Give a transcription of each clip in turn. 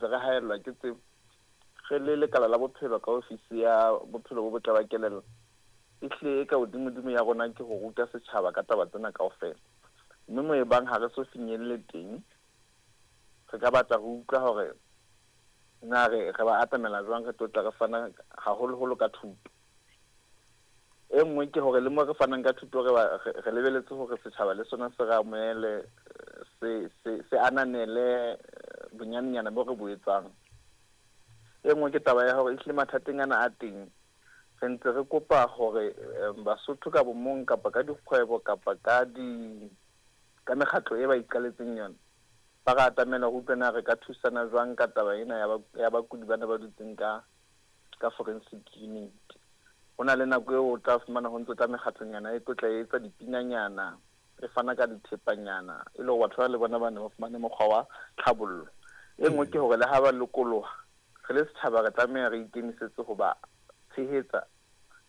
ntse re haellwa ke tsebo. Re le lekala la bophelo ka ofisi ya bophelo bo botle ba kelello, ehlile e ka hodimodimo ya rona ke ho ruta setjhaba ka taba tsena kaofela. Mme mo ebang ha re so finyelle teng, re ka batla ho utlwa hore na re re ba atamela jwang re tlo tla re fana haholoholo ka thuto. E nngwe ke hore le mo re fanang ka thuto re ba re lebeletse hore setjhaba le sona se re amohele, se ananele bonyanenyana bo re bo etsang. E nngwe ke taba ya hore ehlile mathateng ana a teng, re ntse re kopa hore Basotho ka bomong kapa ka dikgwebo kapa ka di ka mekgatlo e ba iqaletseng yona, ba re atamela ho utlwa na re ka thusana jwang ka taba ena ya bakudi bana ba dutseng ka forensic unit. Ho na le nako eo o tla fumana ho ntso tla mekgatlonyana e tlo tla etsa dipinanyana, e fana ka dithepanyana, e le hore batho ba le bona ba ne ba fumane mokgwa wa tlhabollo. E nngwe ke hore le ha ba lokoloha, re le setjhaba re tlameha re ikemisetse ho ba tshehetsa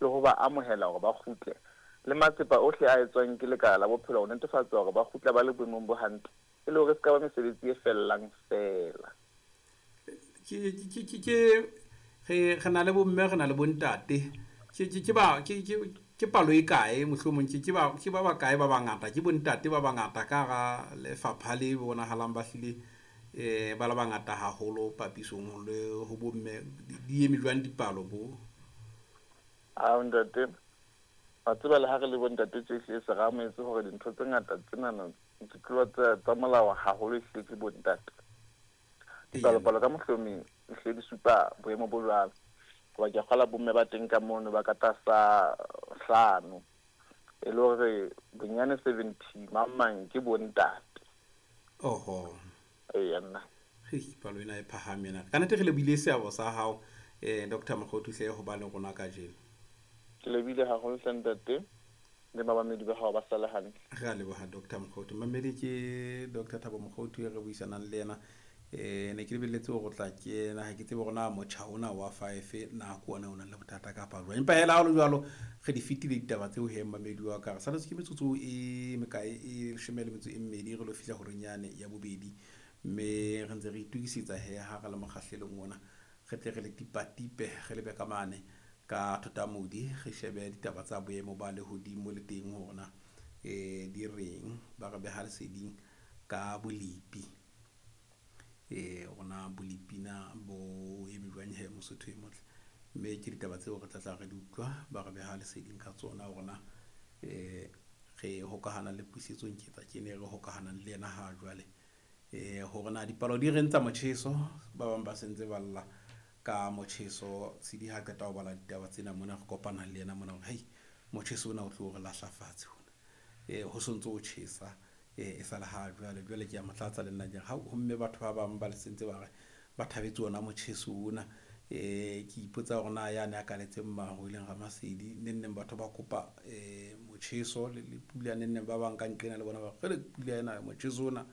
le ho ba amohela hore ba kgutle. Le matsepa ohle a etswang ke lekala la bophelo ho netefatsa hore ba kgutla ba le boemong bo hantle, e le hore se ka ba mesebetsi e fellang feela. Ke re na le bomme, re na le bontate. Ke ba ke palo e kae mohlomong ke ba bakae ba bangata, ke bontate ba bangata ka hara lefapha le bonahalang ba hlile ba le bangata haholo papisong le ho bomme. Di eme jwang dipalo bo? A ntate, wa tseba le ha re le bontate tje ehlile se re amohetse hore dintho tse ngata tsenana ditlolo tsa molao haholo ehlile ke bontate. Dipalopalo ka mohlomong ehlile di supa boemo bo jwalo. Hoba ke a kgolwa bomme ba teng ka mono ba ka tlasa 5. E le hore bonyane 70 mang mang ke bontate. Oho. Eya nna. Hei, palo ena e phahame ena. Ka nnete re lebohile seabo sa hao, Dr. Mokhothu hle ho ba le rona kajeno. Ke lebohile haholo hle ntate, le babamedi ba hao ba sale hantle. Re a leboha Dr. Mokhothu. Mamedi ke Dr. Thabo Mokhothu e re buisanang le yena. Ne ke lebelletse hore o tla kena, ha ke tsebe hore na motjha ona wa 5 na ke ona o nang le bothata kapa jwang. Empa hela ha ho le jwalo, re di fetile ditaba tseo he mamedi wa ka. Re saletswe ke metsotso e mekae, e 12 re lo fihla horeng yane ya bobedi. Mme re ntse re itokisetsa he ha re le mokgahlelong ona, re tle re le tipatipe, re lebe ka mane ka Thotamodi, re shebe ditaba tsa boemo ba lehodimo le teng hore na di reng, ba re beha leseding ka bolepi. Rona bolepi na bo eme jwang he Mosotho e motle. Mme ke ditaba tseo re tla tla re di utlwa, ba re beha leseding ka tsona hore na re hokahana le Puisetso Nketsa ke ne re hokahanang le yena ha jwale. Hore na dipalo di reng tsa motjheso, ba bang ba sentse ba lla ka motjheso. Tshidi ha qeta ho bala ditaba tsena mona, re kopana le yena mona hore hei, motjheso ona o tlo re lahla fatshe hona. Ho sontso o tjhesa, e sa le ha jwale. Jwale ke a mo tlatsa le nna ke re, hao, ho mme batho ba bang ba le sentse ba re ba thabetse ona motjheso ona. Ke ipotsa hore na ya ne a kaletseng maru e leng Ramasedi, neng neng batho ba kopa motjheso le pula, neng neng ba bang ka nqena le bona ba re, re pula ena motjheso ona.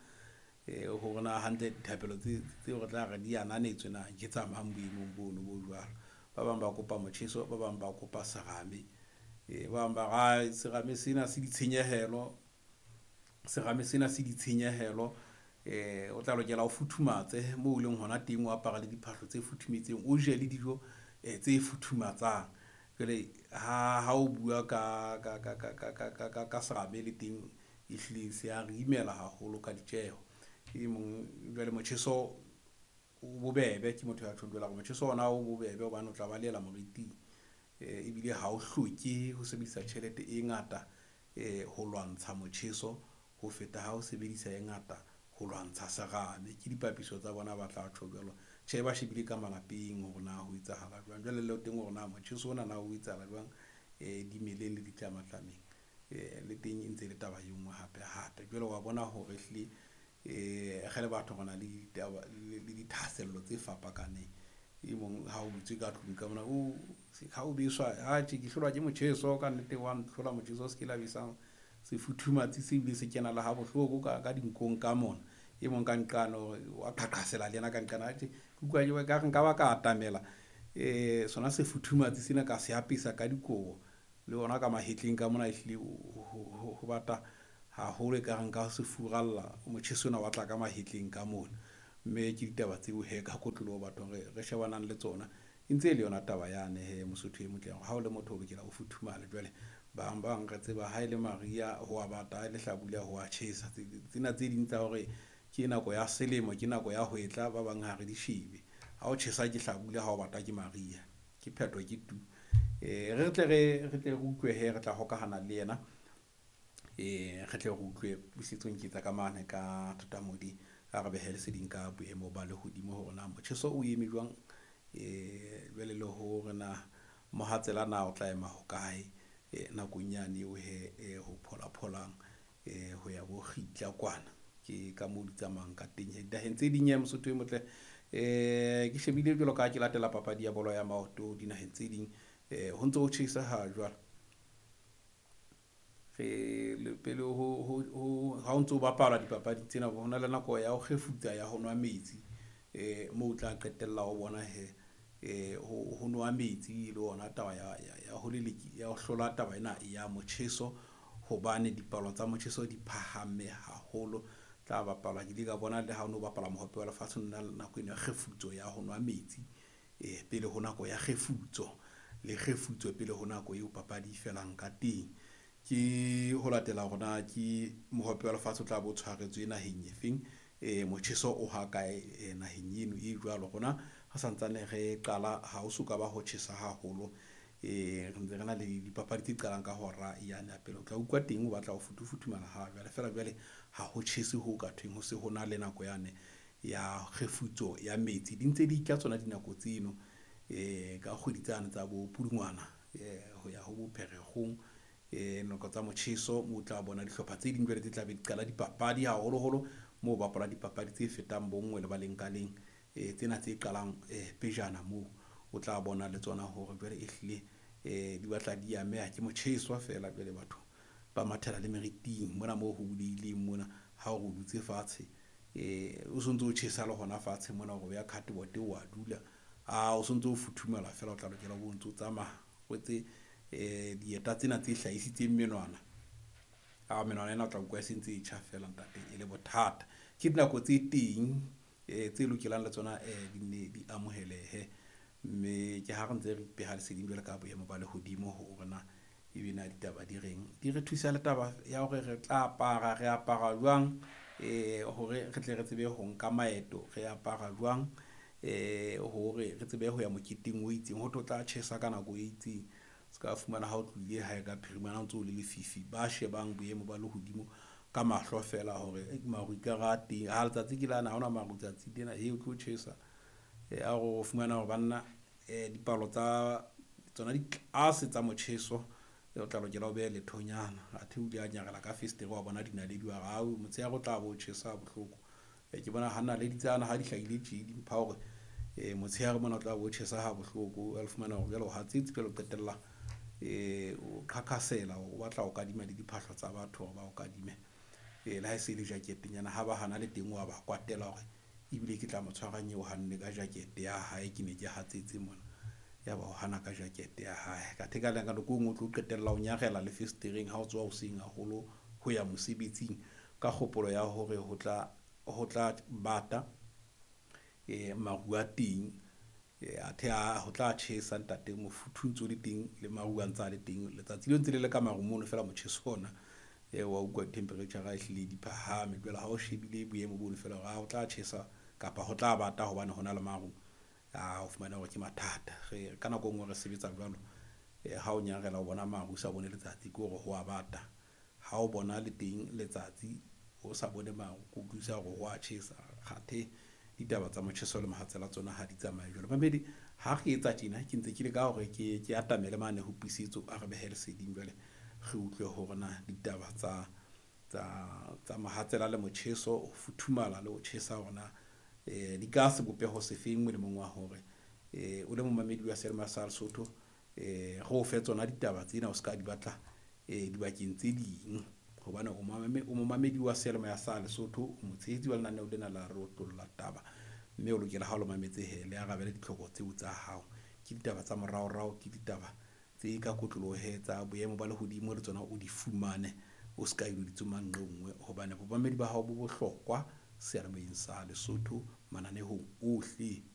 Hore na hantle dithapelo tseo re tla re di ananetswe na ke tsa mang boemong bono bo jwalo. Ba bang ba kopa motjheso, ba bang ba kopa serame. Ba bang ba re, serame sena se ditshenyehelo, serame sena se ditshenyehelo. O tla lokela o futhumatse moo o leng hona teng, o apara le diphahlo tse futhumetseng, o je le dijo tse futhumatsang. Jwale ha o bua ka serame le teng ehlile se a re imela haholo ka ditjeho. E mong jwale motjheso o bobebe, ke motho ya tjhong jwale hore motjheso ona o bobebe hobane o tla ba lela moriting. Ebile ha o hloke ho sebedisa tjhelete e ngata ho lwantsha motjheso ho feta ha o sebedisa e ngata ho lwantsha serame. Ke dipapiso tsa bona ba tla tjho jwalo. Tjhe, ba shebile ka malapeng hore na ho etsahala jwang. Jwale le teng hore na motjheso ona na o etsahala jwang dimeleng le ditlamatlameng. Le teng e ntse le taba e nngwe hape hape. Jwale wa bona hore ehlile re le batho re na le ditaba le dithahasello tse fapakaneng. E mong ha o butswe ka tlung ka mona, o ha o beswa, ha tjhe ke hlolwa ke motjheso ka nnete, wa ntlhola motjheso, se ke la besang sefuthumatsi se bile se kena le ha bohloko ka dinkong ka mona. E mong ka nqane hore wa qhaqhasela le yena ka nqane, ha tjhe, ke utlwa ke ka re nka ba ka atamela sona sefuthumatsi sena ka se apesa ka dikobo le ona ka mahetleng ka mona, ehlile ho bata haholo e ka re nka se furalla motjheso ona wa tla ka mahetleng ka mona. Mme ke ditaba tseo he ka kotloloho bathong re shebanang le tsona. E ntse e le yona taba yane he Mosotho e motle hore ha o le motho o lokela o futhumale. Jwale bang bang re tseba ha e le mariha ho a bata, ha e le hlabula ho a tjhesa. Tsena tse ding tsa hore ke nako ya selemo, ke nako ya hwetla, ba bang ha re di shebe. Ha o tjhesa ke hlabula, ha o bata ke mariha. Ke phetho ke tu. Re tle re utlwe he re tla hokahana le yena. Re tle re utlwe Puisetso Nketsa ka mane ka Thotamodi a re behe leseding ka boemo ba lehodimo hore na motjheso o eme jwang, jwale le hore na mohatsela na o tla ema hokae nakong yane eo he ho phola-pholang ho ya bo kgitla kwana. Ke ka moo di tsamayang ka teng. Dinaheng tse ding ya Mosotho e motle, ke shebile jwalo ka ha ke latela papadi ya bolo ya maoto dinaheng tse ding, ho ntso ho tjhesa ha jwale. Re le pele ho ha o ntso bapala dipapadi tsena, ho na le nako ya ho kgefutsa ya ho nwa metsi, moo o tla qetella o bona he ho nwa metsi le ona taba ya ho leleki ya ho hlola taba ena ya motjheso, hobane dipalo tsa motjheso di phahame haholo. Tla bapala ke ile ka bona le ha o no bapala mohope wa lefatshe nna nako eno ya kgefutso ya ho nwa metsi, pele ho nako ya kgefutso le kgefutso pele ho nako eo papadi e felang ka teng. Ke ho latela hore na ke mohope wa lefatshe o tla bo tshwaretswe naheng e feng, motjheso o ha kae naheng eno e jwalo. Rona re santsane re qala ha o soka ba ho tjhesa haholo, re ntse re na le dipapadi tse qalang ka hora yane ya pele. O tla utlwa teng o batla ho futhufuthumala ha jwale, feela jwale ha ho tjhese ho ka thweng ho se ho na le nako yane ya kgefutso ya metsi. Di ntse di tla tsona dinako tseno, ka kgwedi tsane tsa bo Pudungwana, ho ya ho bo Pherekgong, nako tsa motjheso moo o tla bona dihlopha tse ding jwale tse tla be di qala dipapadi haholoholo moo bapala dipapadi tse fetang bonngwe lebaleng ka leng, tsena tse qalang pejana moo o tla bona le tsona hore jwale e hlile di batla di ameha ke motjheso feela. Jwale batho ba mathela le meriting mona moo ho bulehileng mona, ha o re dutse fatshe, o sontso o tjhesa le hona fatshe mona hore o ya cardboard o a dula, a o sontso o futhumala feela, o tla lokela o ntso tsamaya o etse dieta tsena tse hlahisitseng menwana. A menwana ena o tla utlwa e sentse e tjha feela ntate, e le bothata. Ke dinako tse teng tse lokelang le tsona di nne di amohelehe, mme ke ha re ntse re ipeha leseding jwalo ka boemo ba lehodimo hore na ebe na ditaba di reng. Di re thusa le taba ya hore re tla apara, re apara jwang, hore re tle re tsebe ho nka maeto, re apara jwang, hore re tsebe ho ya moketeng o itseng, ho tlo tla tjhesa ka nako e itseng. Se ka fumana ha o tlohile hae ka phirimana o ntso o le lefifi, ba shebang boemo ba lehodimo ka mahlo feela hore maru ekare a teng, ha letsatsi ke lana ha hona maru tsatsi lena, he o tlo tjhesa. A re o fumana hore banna dipalo tsa tsona di tlase tsa motjheso, o tla lokela o behe lethonyana. Athe o ile a nyarela ka fesetere wa bona dinaledi wa re au motshehare o tla bo tjhesa bohloko. Ke bona ha naledi tsana ha di hlahile tje di mpha hore motshehare mona o tla bo tjhesa ha bohloko. O fumana hore jwale o hatsetse jwale o qetella o qhaqhasela, o batla ho kadima le diphahlo tsa batho hore ba o kadime, le ha e se le jacket-nyana ha ba hana le teng wa ba kwatela hore ebile ke tla mo tshwarang eo hanne ka jacket ya hae, ke ne ke hatsetse mona, ya ba o hana ka jacket ya hae. Ka theka le ka nako e nngwe o tlo qetella o nyarela le fesetereng ha o tsoha hoseng haholo ho ya mosebetsing ka kgopolo ya hore ho tla bata, maru a teng, athe ho tla tjhesa ntate, mofuthu ntso le teng le maru a ntsa le teng, letsatsi le ntse le le ka maru mono feela motjheso ona, wa utlwa temperature e hlile di phahame. Jwale ha o shebile boemo bono feela hore ho tla tjhesa kapa ho tla bata hobane hona le maru, a o fumana hore ke mathata. Re ka nako e nngwe re sebetsa jwalo, ha o nyarela o bona maru o sa bone letsatsi ke hore ho a bata, ha o bona le teng letsatsi o sa bone maru ke utlwisisa hore ho a tjhesa. Kgathe ditaba tsa motjheso le mohatsela tsona ha di tsamaye jwalo. Mamedi ha re etsa tjena ke ntse ke leka hore ke atamele mane ho Puisetso a re behe leseding jwale re utlwe hore na ditaba tsa mohatsela le motjheso, ho futhumala le ho tjhesa hore na di ka sebopeho sefeng molemong wa hore o le momamedi wa Seyalemoya sa Lesotho, re o fe tsona ditaba tsena o ska di batla dibakeng tse ding, hobane o momamedi wa Seyalemoya sa Lesotho, o motshehetsi wa lenaneo lena la re otlolla taba, mme o lokela ha o le mametse he le arabele ditlhoko tseo tsa hao. Ke ditaba tsa moraorao, ke ditaba tse ka kotloloho tsa boemo ba lehodimo le tsona o di fumane, o ska ilo di tsoma nqe nngwe, hobane bomamedi ba hao bo bohlokwa. Seyalemoyeng sa Lesotho mananehong ohle.